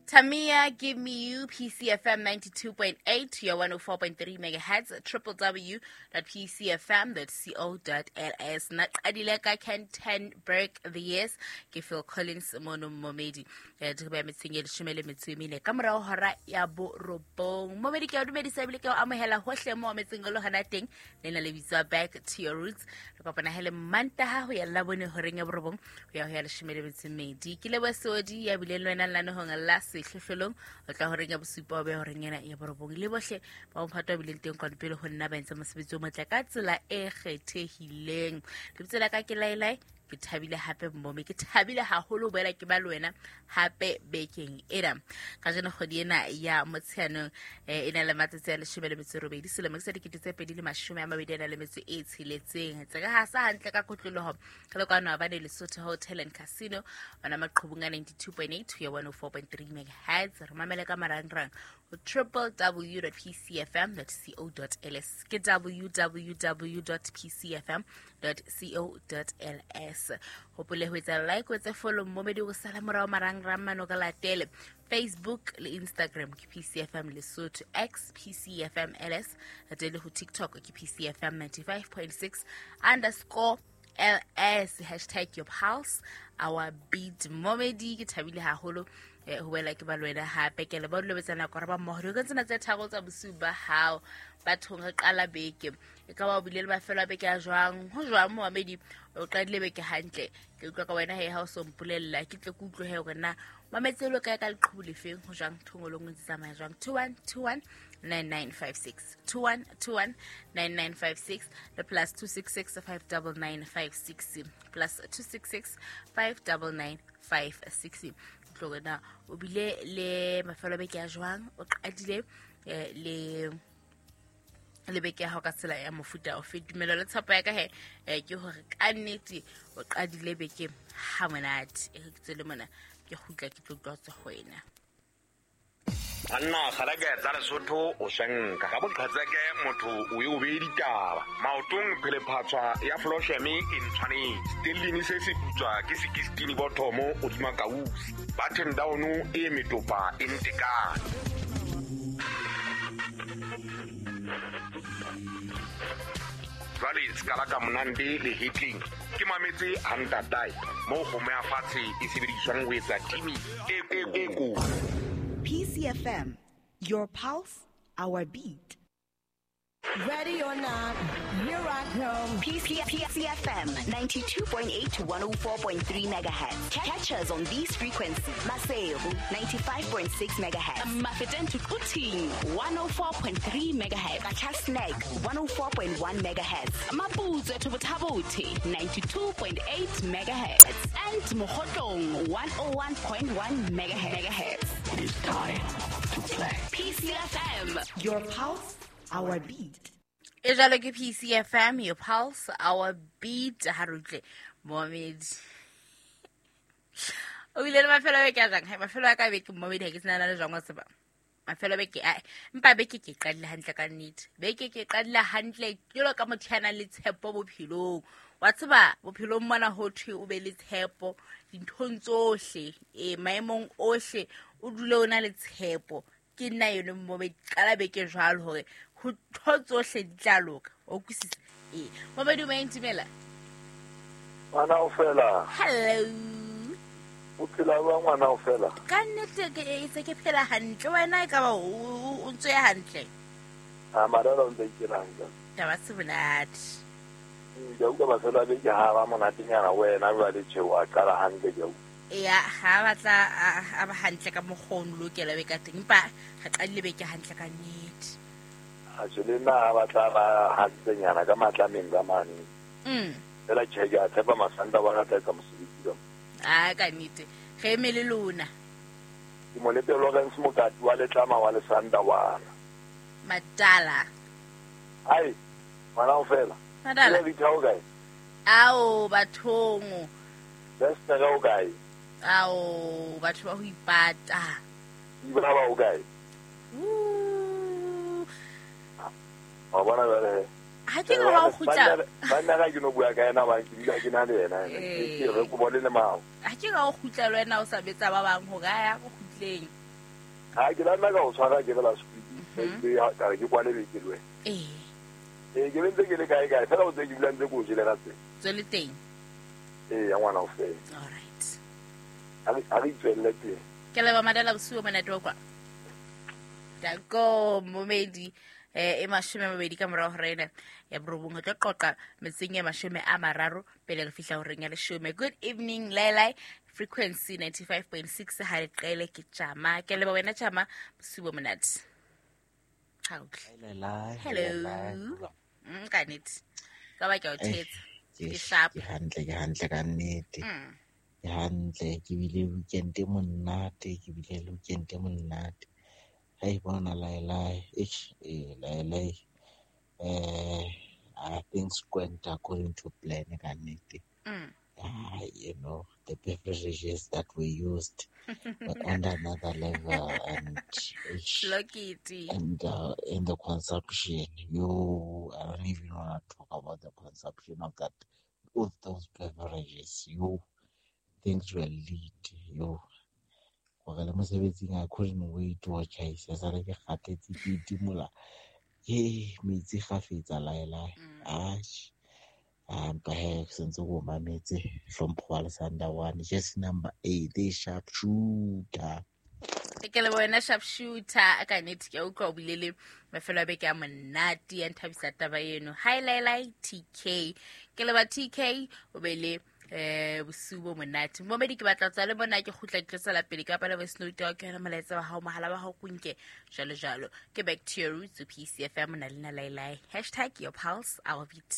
Tamia, give me you, PCFM 92.8 to your 104.3 megahertz, www.pcfm.co.ls. Nna qadile ka Ken Tenberg The Years, ke Phil Collins mono Momedi. Re ba metseng e leshome le metso e mene ka morao hora ya borobong. Momedi ke a o dumedisa ebile ke o amohela hohle mo metseng o le hona teng. Le na le bitswa Back to Your Roots. Re kopana hele Mantaha ho ya Labone horeng ya borobong ho ya ho ya leshome le metso e mmedi. Ke leboha Seodi ya bileng le wena lenanehong la sehlohlolong o tla horeng ya bosupa o be horeng ena ya borobong. Le bohle ba mophato ba bileng teng kwano pele ho nna ba entse mosebetsi o motle ka tsela e kgethehileng. Lebitso la ka ke Lailai, ke thabile hape mmome, ke thabile haholo ho boela ke ba le wena hape bekeng ena. Kajeno kgwedi ena ya Motsheanong e na le matsatsi a leshome le metso e robedi selemo sa 2026. Tse ka hasa hantle ka kotloloho re le kwano Habane Lesotho Hotel and Casino ona maqhubung a 92.8 ho ya 104.3 megahertz. Re mamele ka marangrang ho www.pcfm.co.ls, ke www.pcfm.co.ls. Hopole ho etsa like, o etse follow Momedi, o sala morao marangrang mano ka latele Facebook le Instagram ke PCFM Lesotho, X PCFM LS, latele ho TikTok ke PCFM 95.6 underscore LS, hashtag your pulse our beat. Momedi ke thabile haholo ho boela ke ba le wena hape. Ke le ba dulobetsa nako re ba mmoho dikong tsena tse tharo tsa bosiu ba hao. Bathong re qala beke, e ka ba o bile le mafelo a beke a jwang, ho jwang Momedi, o qadile beke hantle? Ke utlwa ka wena he, ha o so mpolella ke tle ke utlwe he hore na mametse lo kae ka leqhubu lefeng, ho jwang thongolong o ntse tsamaya jwang. 2121 9956, 2121 9956 le plus 266 599 56, plus 266 599 56. Utlwe na o bile le mafelo a beke a jwang, o qadile le beke ya hao ka tsela ya mofuta ofe. Tumelo le tshepo ya ka he ke hore ka nnete o qadile beke ha monate. E re ke tswele mona ke kgutla ke tlo utlwa tswa ho wena. Banna kgaleke tsa Lesotho o swenka ka boqhetseke, motho o ye o beye ditaba maotong. Phelephatshwa ya flosheme e ntshwanetse stellini se se putswa ke sekistini bothomo hodima kausi button down e metopa e ntekane. Jwale se ka monande le hetleng ke mametse hantatae moo kgomo ya fatshe e sebediswang ho etsa timi e kotsi. PCFM, your pulse, our beat. Ready or not, here I come. PCFM 92.8 to 104.3 megahertz. Catch us on these frequencies. Maseru 95.6 megahertz. Mafeteng to Quthing 104.3 megahertz. Qacha's Nek 104.1 megahertz. Maputsoe to Botha-Bothe 92.8 megahertz. And Mokhotlong 101.1 megahertz. It is time to play. PCFM, your pulse, our beat. E jalo ke PCFM, your pulse, our beat. Ha re utlwe Momedi o bile le mafelo a beke a jang? Hai, mafelo a ka beke Momedi ha ke sena le jwang wa tseba. Mafelo a beke a empa beke ke qadile hantle ka nnete. Beke ke qadile hantle jwalo ka motho ya nang le tshepo bophelong. Wa tseba bophelong mona ho thwe o be le tshepo dinthong tsohle, maemong ohle o dule o na le tshepo. Ke nna yone Momedi, qala beke jwalo hore ho ntho tsohle di tla loka. O utlwisisa? Ee. Momedi o maentimela. Ngwana o fela. Hello. O phela jwang ngwana o fela? Ka nnete ke se ke phela hantle. Wena e ka ba o ntse ya hantle? A madala o ntse ikela hantle. Taba se monate. Ke utlwa mafelo a beke ha ba monatenyana wena jwale tjhe wa qala hantle ke utlwa. Ya, ha batla a ba hantle ka mokgwa o lokela be ka teng, empa re qadile beke hantle ka nnete. A tjhe le nna ha batla ba hantlenyana ka matlameng ka mane. Fela tjhe ke a tshepa Masanta wa tla etsa mosebetsi ka. A ka nnete re eme le lona. Ke mo lete Lawrence Mokati wa Letlama wa Lesanda wana. Madala. Ai, ngwana o fela. Madala. Le ditho kae? Ao bathong. Best ka o kae? Ao batho ba ho ipata. Ibra ba o kae? Wa bona jwale. Ha ke re wa kgutla. Banna ga ke no bua ka yena ba ke dula ke na le yena. Ke re ko bone le mao. Ha ke re wa kgutla le wena o sa betsa ba bang hore a ya go kgutleng. Ha ke la nna ka o tshwara ke la squeeze ka re ke kwale beke le wena. Ee ke bentse ke le kae kae fela o tse ke dula ntse ko jele ka tse. Tswele teng. Ee ya ngwana o fela. All right. A re tswelle teng. Ke leba madala bosiu monate wa kwa. Danko momedi e 20 ka morao hore ena ya borobong tlo qoqa metseng ya 30 pele re fihla horeng ya 10. Good evening Lailai, frequency 95.6 ha re qele ke tjama. Ke leba wena tjama bosiu bo monate. Lailai. Hello. Ka nnete. Ka ba ke o thetsa. Ke sharp. Ke hantle ka nnete. Ke hantle ke bile weekend e monate, ke bile weekend e monate. Hey, bona Lailai, Lailai. Things went according to plan ka nnete. You know, the beverages that we used were on another level, and and in the consumption, I don't even want to talk about the consumption of that, of those beverages. Things were lit. I couldn't wait to watch it. Perhaps just number 8, the sharpshooter. Ke le wena sharpshooter ka nnete ke utlwa o bile le mafelo a beke a monate ya nthabisa taba eno. Hi Lailai TK. Ke le ba TK o be le bosiu bo monate. Momedi ke batla tswa le bona ke khutla ke tsela pele ka pala voice note ya ke yona molaetsa wa hao mohala wa hao kunke jalo jalo. Ke back to your roots PCFM na le na Lailai. #your pulse our beat.